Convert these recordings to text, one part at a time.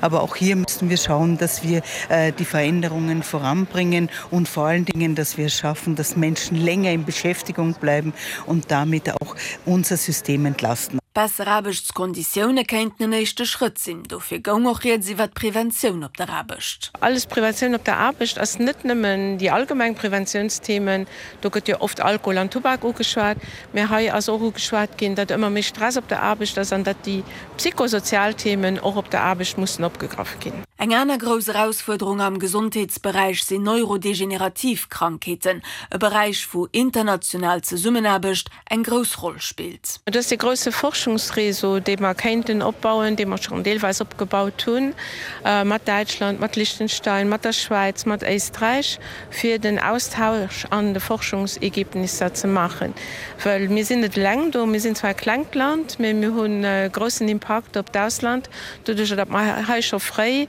Aber auch hier müssen wir schauen, dass wir äh, die Veränderungen voranbringen und vor allen Dingen, dass wir es schaffen, dass Menschen länger in Beschäftigung bleiben und damit auch unser System entlasten. Besser Aarbechtskonditioune kéinten en éischte Schrëtt sinn. Dofir goung och rieds iwwer d'Preventioun op der Aarbecht. Alles Preventioun op der Aarbecht ass net nëmmen déi allgemeng Preventiounsthemen, do gëtt jo oft Alkohol an Tubak ugeschwat, mä hei ass och ugeschwat ginn, datt ëmmer méi Stress op der Aarbecht ass an datt déi psychosozial Themen och op der Aarbecht mussen opgegraff ginn. Eng aner grouss Erausfuerderung am Gesondheetsberäich sinn neurodegenerativ Krankheeten, e Beräich wou international Zesummenaarbecht eng grouss Roll spillt. Et ass dee grousse Forschungsréseau, dee mer kéinten opbauen, dee mer schonn deelweis opgebaut hunn, mat Däitschland, mat Liechtenstein, mat der Schwäiz, mat Éisträich, fir den Austausch an de Forschungsergebnisser ze maachen. Well mir sinn net eleng do. Mir sinn zwar e klengt Land, mä mir hunn e groussen Impakt op d'Ausland, doduerjer datt mer hei scho fréi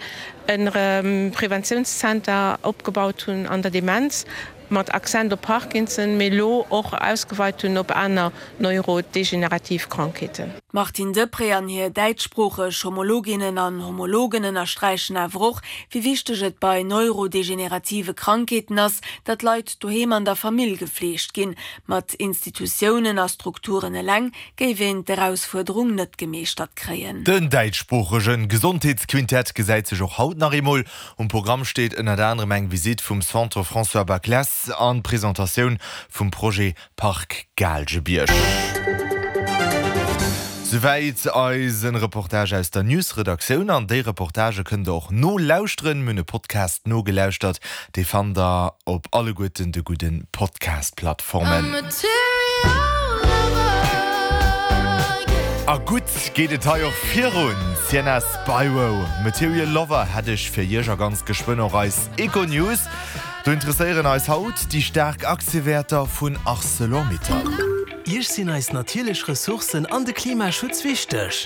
e Preventiounszenter opgebaut hunn an der Demenz, mat Accent op Parkinson, mee elo och ausgeweit hunn op aner neurodegenerativ Krankheeten. D'Martine Deprez an hir däitschsproocheg Homologinnen an Homologen ënnersträichen awer och, wéi wichteg et bei neurodegenerative Krankheeten ass, datt Leit doheem an der Famill gefleegt ginn. Mat Institutiounen a Strukturen eleng géif een d'Erausfuerderung net gemeeschtert kréien. Den däitschsproochege Gesondheetsquintett gesäit sech och haut nach eemol. Um Programm steet ënnert anerem eng Visitt vum Centre François Baclesse an d'Presentatioun vum Projet Park Gaalgebierg. Souwäit eisen Reportage aus der News-Redaktioun. An déi Reportagë kënnt der och nolauschteren. Mir hunn e Podcast nogelauschtert, dee fannt der op alleguerten de gudden Podcast-Plattformen. A gutt geet et hei och virun. Sienna Spiro, Material Lover hätt ech fir iech a ganz geschwënn och eis Econews. Do interesséieren eis haut déi staark Aktiewäerter vun Arcelor-Mittal. Iech sinn eis natierlech Ressourcen an de Klimaschutz wichteg?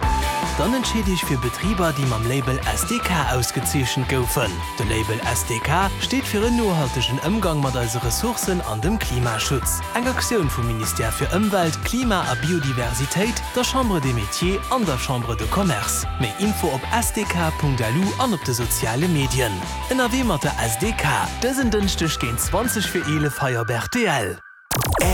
Dann entscheet Iech fir Betriber, déi mam Label SDK ausgezeechent goufen. De Label SDK steet fir en nohaltegen Ëmgang mat eise Ressourcen an dem Klimaschutz. Eng Aktioun vum Ministère fir Ëmwelt, Klima a Biodiversitéit, der Chambre des Métiers an der Chambre de Commerce. Méi Info op sdk.lu an op de soziale Medien. Ënnerwee mat der SDK, dësen Dënschdeg géint 20 vir 11 hei op rtl.